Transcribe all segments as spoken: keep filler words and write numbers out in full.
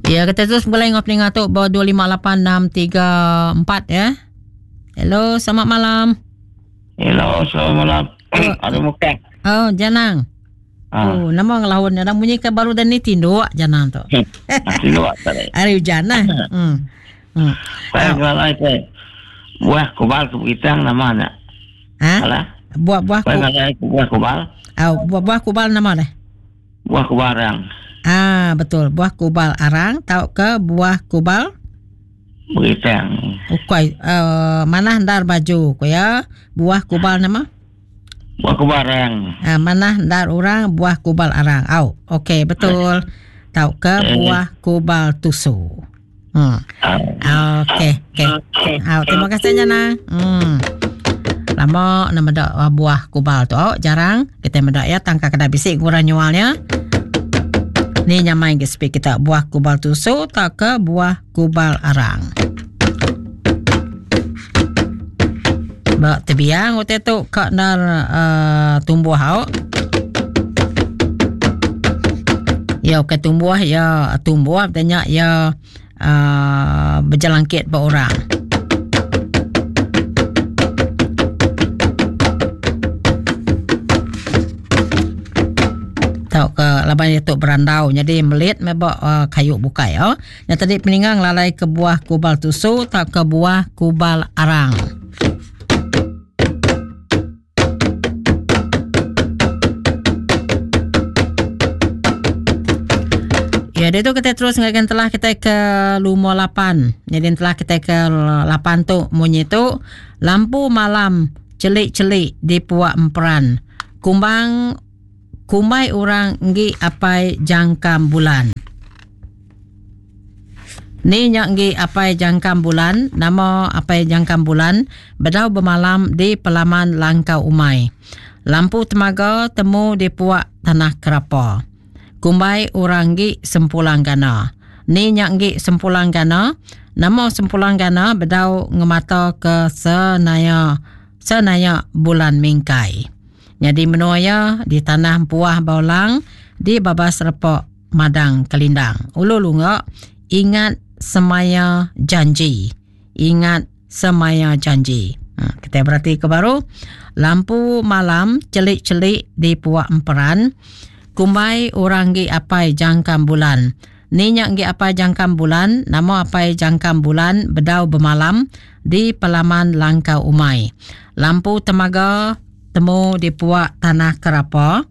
Ya, kita terus mulai ngop ninga tu bawah dua lima lapan enam tiga empat ya. Hello, selamat malam. Hello, selamat malam. Oh, ada muka. Oh, Janang. Ah. Oh, nama ngelahun ada bunyi ke baru dan ni tinduk Janang tu. Tinduk tadi. Hari hujan lah. Hmm. Hmm. Saya jual itu. Buah kubal ke Bukitang nama nak. Ha? Alah. Buah-buah ku... buah kubal. Oh, buah-buah kubal nama deh. Buah kubal arang. Ah, betul. Buah kubal arang tau ke buah kubal Bukitang. Okey, uh, mana ndar baju ko ya? Buah kubal nama? Buah kubal arang. Ah, mana ndar orang buah kubal arang. Au, okey, betul. Tau ke buah kubal tusu. Hmm. Okey, okey. Au, terima kasih Jana. Hmm. Lama nama dak buah kubal tu. Oh, jarang kita mendak ya tangka kada bisik kurang nyualnya. Ni nyamai ke speak kita buah kubal tusu tak ke buah kubal arang. Bak tebiang utai tu kak nar uh, tumbuh hau. Ya ke tumbuh ya tumbuh tanya ya uh, berjelangkit ba orang. Tau ke laban itu berandau jadi melit mebak uh, kayu bukai oh. Yang tadi peninggang lalai ke buah kubal tusu tak ke buah kubal arang. Ya, dia tu kita terus ngakan telah kita ke lumur lapan. Jadi telah kita ke lapan tu munyi tu lampu malam celik-celik di puak emperan. Kumbang kumbai orang nggi apai jangkam bulan. Ni nyak nggi apai jangkam bulan, nama apai jangkam bulan bedau bermalam di pelaman Langkau Umai. Lampu temaga temu di puak tanah kerapa. Kumbai orang nggi sempulang gana. Ni nyak nggi sempulang gana, nama sempulang gana bedau ngemata ke senaya senaya bulan mingkai. Jadi menuaya di tanah Puah Baulang di babas repok Madang Kelindang. Ulu lunga ingat semaya janji. Ingat semaya janji. Ha, kita berarti ke baru lampu malam celik-celik di puak emperan. Kumbai orang gi apai jangkam bulan. Ni nyak gi apai jangkam bulan, nama apai jangkam bulan bedau bermalam di pelaman Langkau Umai. Lampu temaga temu di puak tanah kerapa.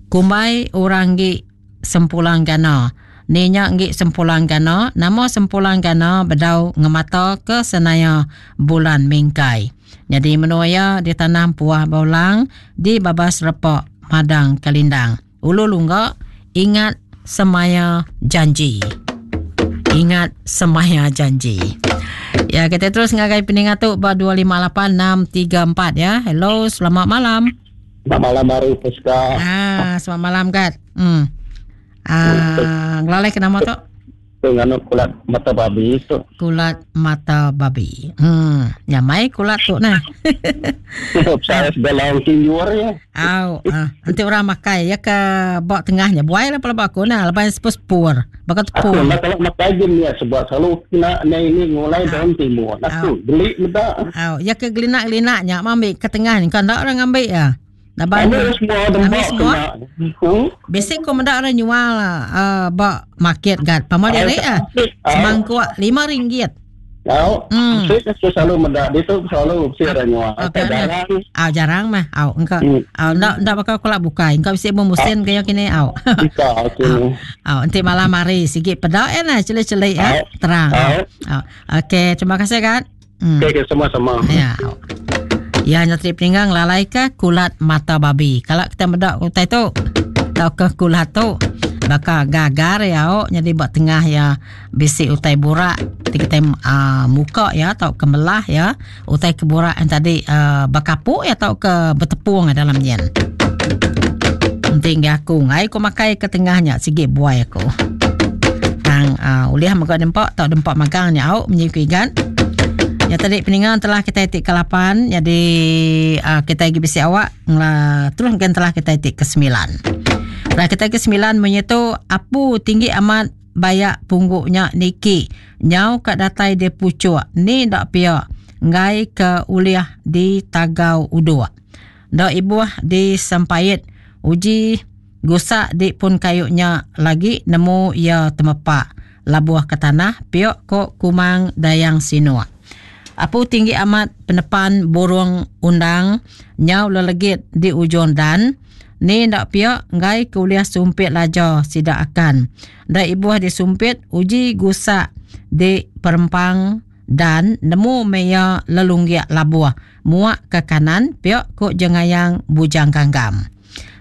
Kumbai orang gi sempulang gana. Ni nyak gi sempulang gana, nama sempulang gana bedau ngemata ke senaya bulan mingkai. Jadi menuaya di tanah Puah Baulang di babas repok Madang Kelindang. Ulu lungga ingat semaya janji. Ingat semaya janji. Ya, kita terus ngagai peningat tu ba dua lima lapan enam tiga empat ya. Hello, selamat malam. Selamat malam baru Puska. Ah, selamat malam Gat. Hmm. Ah, ngelalai ke nama tu? Nganu kulat mata babi tu. Kulat mata babi. Hmm, nyamai kulat tu nah. Saya sebelah tinjur ya. Au, ah, nanti orang makai ya ke bak tengahnya. Buai lah pala aku nah, lepas sepur. Bakat tepur. Aku nak kalau makai gini ya sebab selalu kena ni ini ngulai daun timur. Aku beli muda. Au, ya ke gelinak-gelinaknya ambil ke tengah ni kan tak orang ambil ya. Ambil semua ambil semua. Basic kau mendak orang jual uh, bak market gat. Pama dia ah. Semangkuk lima ringgit. Tau. Hmm. Saya selalu mendak dia tu selalu mesti ada jual. Jarang. Ah jarang mah. Au engkau. Au ndak ndak bakal kolak bukai. Engkau bisi memusin kaya kini au. Ika okey. Au nanti malam hari sikit pedak ya nah celik-celik ya. Terang. Au. Okey, terima kasih gat. Hmm. Okey, sama-sama. Ya. Ya, nyatri peninggang lalai ke kulat mata babi. Kalau kita mendak utai tu, tau ke kulat tu, bakal gagar ya, oh, jadi buat tengah ya bisik utai burak, kita uh, muka ya, tau ke melah ya, utai keburak yang tadi uh, berkapuk ya, tau ke bertepung dalam nyen. Penting aku ngai ku makai ke tengahnya sikit buai aku. Tang uh, uliah maga dempak tau dempak magangnya au menyikui kan. Ya tadi peninggalan telah kita etik ke lapan, jadi uh, kita lagi bisi awak ngla terus mungkin telah kita etik ke sembilan. Telah kita ke sembilan menyetu apu tinggi amat bayak pungguknya niki nyau ka datai di pucuk ni dak pia ngai ke uliah di tagau uduk. Dak ibuh di sempait uji gusak di pun kayunya lagi nemu ia temepak labuh ke tanah piok ko Kumang Dayang Sinuk. Apu tinggi amat penepan burung undang nyau lelegit di ujung dan ni ndak piok ngai kuliah sumpit laja sida akan. Dak ibuh disumpit uji gusak di perempang dan nemu meya lelunggiak labuh muak ke kanan piok ko jengayang Bujang Ganggam.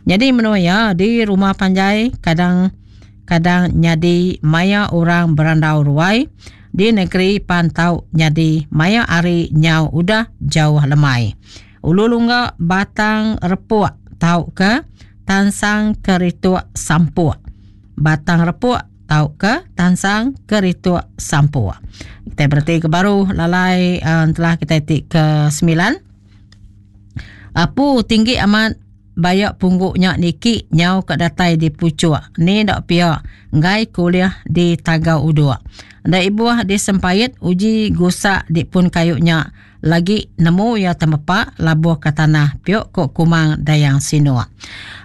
Jadi menuya di rumah panjai kadang-kadang nyadi maya orang berandau ruai di negeri pantau nyadi maya ari nyau udah jauh lemai. Ulu lungga batang repuk tau ke tansang kerituk sampuk. Batang repuk tau ke tansang kerituk sampuk. Kita berarti ke baru lalai uh, telah kita tik ke sembilan. Apu tinggi amat bayak pungguknya niki nyau ke datai di pucuk. Ni dak pia ngai kuliah di tagau uduk. Ndak ibuh di sempait uji gusak di pun kayunya lagi nemu ia temepak labuh ke tanah piok kok Kumang Dayang Sinuk.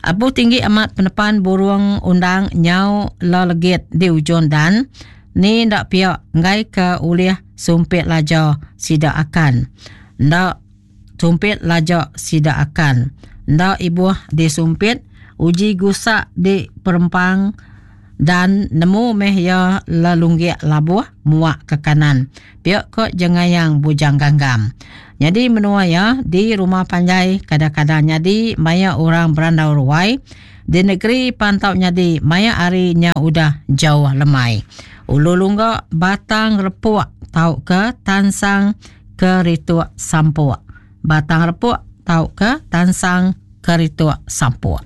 Apu tinggi amat penepan burung undang nyau lelegit di ujung dan ni ndak pia ngai ke ulih sumpit laja sida akan. Ndak sumpit laja sida akan. Ndak ibuh disumpit uji gusak di perempang dan nemu meh ya lelunggiak labuh muak ke kanan piok ko jengayang Bujang Ganggam. Jadi menua ya di rumah panjai kadang-kadang nyadi maya orang berandau ruai di negeri pantau nyadi maya ari nya udah jauh lemai. Ulu lungga batang repuk tau ke tansang kerituk sampuk. Batang repuk tau ke tansang kerituk sampuk.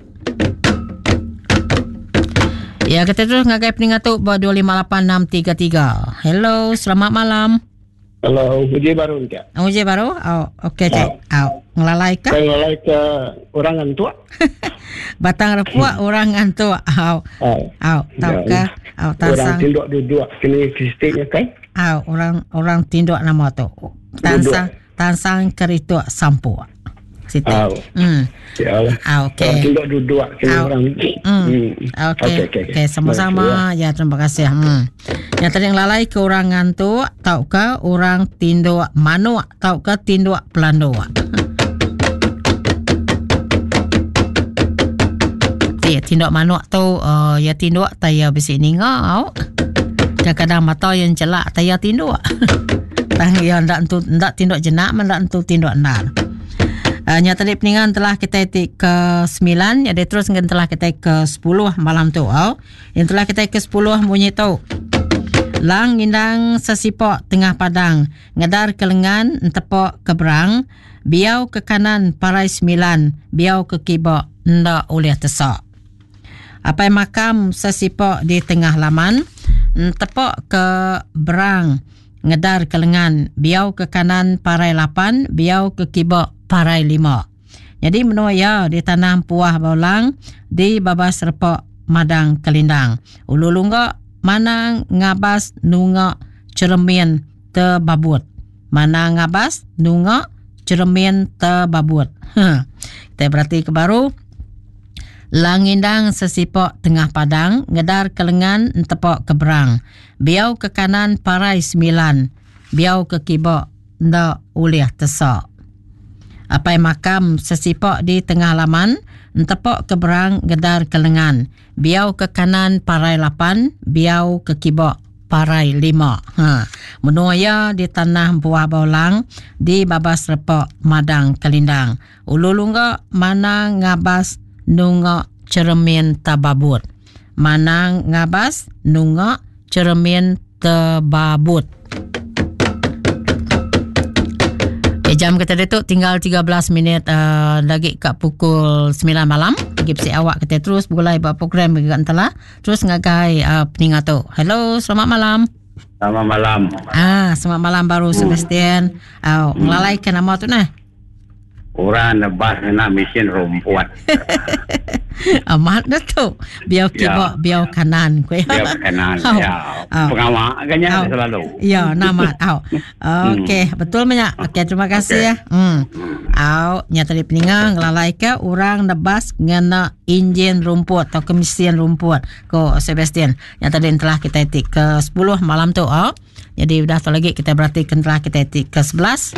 Ya, kita terus ngagai peningat tu buat dua lima lapan enam tiga tiga. Hello, selamat malam. Hello, uji baru ke? Uji baru? Oh, okey cik. Oh, ngelalai ke? Ngelalai ke orang ngantuk. Batang repuk orang ngantuk. Oh. Oh, tau ke? Oh, tansang. Orang tinduk duduk kini kristiknya kan? Oh, orang orang tinduk nama tu. Tansang tansang kerituk sampuk. Situ. Oh. Hmm. Ya. Ah, okey. Orang tinduk duduk kini orang. Hmm. Okey. Okey, okay. Sama-sama. Ya, terima kasih. Hmm. Yang tadi ngelalai ke orang ngantuk tau ke orang tinduk manuk tau ke tinduk pelanduk. Ya, tinduk manuk tu uh, ya tinduk taya bisi ninga au. Kadang-kadang mata yang celak taya tinduk. Tang ya ndak entu ndak tinduk jenak ndak entu tinduk ndar. Uh, nyata tadi peningan telah kita tik ke sembilan, jadi terus dengan telah kita ke sepuluh malam tu. Oh. Yang telah kita ke sepuluh bunyi tu. Lang indang sesipok tengah padang, ngedar ke lengan entepok ke berang, biau ke kanan parai sembilan, biau ke kibok ndak oleh tesak. Apai makam sesipok di tengah laman, entepok ke berang, ngedar ke lengan, biau ke kanan parai lapan, biau ke kibok parai lima. Jadi menua ya di tanah puah baulang di babas repok madang kelindang. Ulu lungga manang ngabas nunga cermin terbabut. Manang ngabas nunga cermin terbabut. Ha. Kita berarti ke baru. Langindang sesipok tengah padang, ngedar ke lengan entepok ke berang. Biau ke kanan parai sembilan, biau ke kibok ndak ulih tesak. Apai makam sesipok di tengah laman, entepok ke berang gedar ke lengan. Biau ke kanan parai lapan, biau ke kibok parai lima. Ha. Menuaya di tanah buah baulang, di babas repok madang kelindang. Ulu lungga mana ngabas nunga cermin tababut. Manang ngabas nunga cermin terbabut. Jam kita tu tinggal tiga belas minit uh, lagi kat pukul sembilan malam. Lagi besi awak kita terus mulai buat program juga entelah. Terus ngagai uh, peningat tu. Hello, selamat malam. Selamat malam. Ah, selamat malam baru Sebastian. Oh, hmm. Ngelalai ke nama tu nah. Orang nebas nak mesin rumput. Amat dah tu. Biau kiba, Ya. biau kanan ku Biau kanan. Au. Ya. Au. Pengawa kan Au. selalu. Ya, namat. Au. Okey, betul banyak. Okey, terima kasih ya. Hmm. Au, nya tadi peninga ngelalai ke orang nebas ngena enjin rumput atau kemisian rumput ko Sebastian. Yang tadi telah kita etik ke sepuluh malam tu. Au. Jadi udah tu lagi kita berarti telah kita etik ke sebelas.